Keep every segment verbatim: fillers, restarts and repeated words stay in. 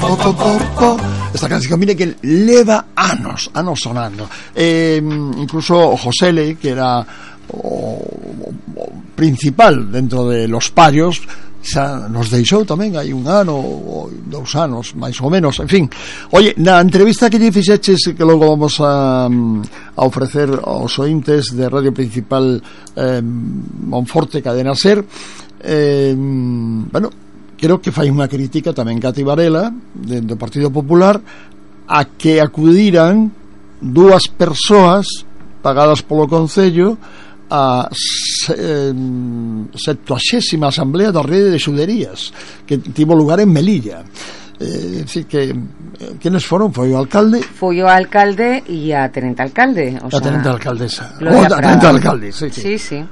po, po, po, po. Esta canción, mire que leva anos, anos sonando. Eh, incluso Josele, que era o, o, o principal dentro de Los Parios, xa nos deixou tamén hai un ano ou dous anos, máis ou menos, en fin. Oye, na entrevista que lle fixeches, que logo vamos a, a ofrecer aos ointes de Radio Principal eh, Monforte Cadena Ser, eh, bueno, creo que fai unha crítica tamén Cati Varela do Partido Popular a que acudiran dúas persoas pagadas polo Concello a septuagésima Asamblea da Rede de Xuderías que tivo lugar en Melilla. É dicir que quenes foron? Foi o alcalde? Foi o alcalde e a tenente alcalde, o a tenente alcaldesa. O a tenente alcalde, sí, sí. Sí, sí.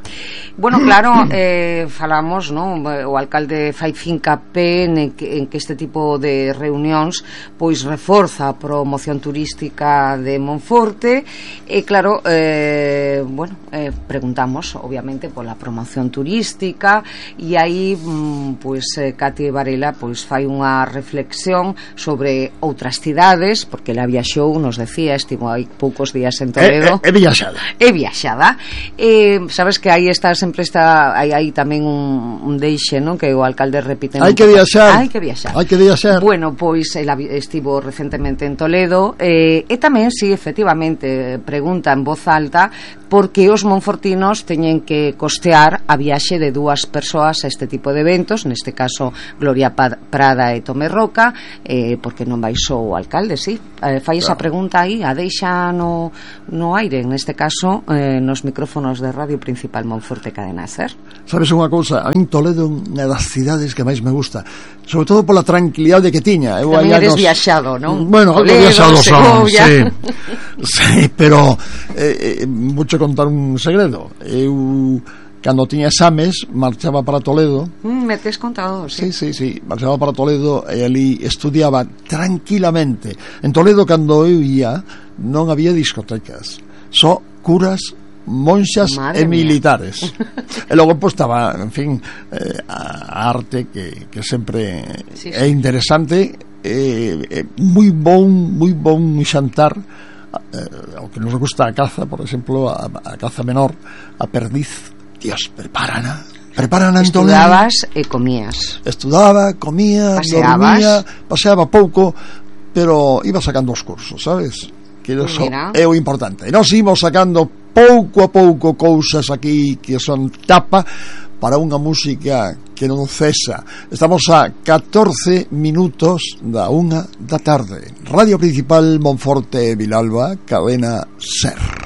Bueno, claro, eh, falamos, ¿no? O alcalde fai fincapé en que, en que este tipo de reunións pois reforza a promoción turística de Monforte e claro, eh, bueno, eh, preguntamos obviamente pola promoción turística e aí pois eh, Cati Varela pois fai unha reflexión sobre outras cidades, porque ela viaxou, nos decía, estivo hai poucos días en Toledo. É, é, é viaxada. É viaxada. Eh, sabes que aí está sempre está aí hai tamén un, un deixe, non? Que o alcalde repite. Hai que viaxar. Hai que viaxar. Hai que viaxar. Bueno, pois ela estivo recentemente en Toledo eh, e tamén, si, sí, efectivamente, pregunta en voz alta por que os monfortinos teñen que costear a viaxe de dúas persoas a este tipo de eventos, neste caso Gloria Prada e Tomé Roca, eh, porque non vai só o alcalde, sí. Eh, fai esa pregunta aí, a deixa no, no aire, neste caso eh, nos micrófonos de Radio Principal Monforte Cadena Ser. Sabes unha cousa, a min Toledo é unha das cidades que máis me gusta, sobre todo pola tranquilidade que tiña. Eu tamén eres nos... viaxado, non? Bueno, algo viaxado son, sí. Sí, pero eh, eh, mucho contar un segredo. Eu cando tiña exames marchaba para Toledo. Mm, me tes contado, sí. Sí, sí, sí, marchaba para Toledo e ali estudiaba tranquilamente. En Toledo cando eu ia non había discotecas, só curas, monxas e militares. E logo pois estaba, en fin, eh, a arte que, que sempre sí, sí. É interesante, eh, eh, moi bon, moi bon xantar. Eh, ao que nos gusta a caza, por exemplo, a, a caza menor, a perdiz. Dios, prepárana, prepárana en Toledo. Estudabas e comías. Estudaba, comía, paseabas. Dormía, paseaba pouco, pero iba sacando os cursos, sabes? Que eso é o importante. E nós imos sacando pouco a pouco cousas aquí que son tapa para unha música que non cesa. Estamos a catorce minutos da unha da tarde. Radio Principal Monforte Vilalba, Cadena Ser.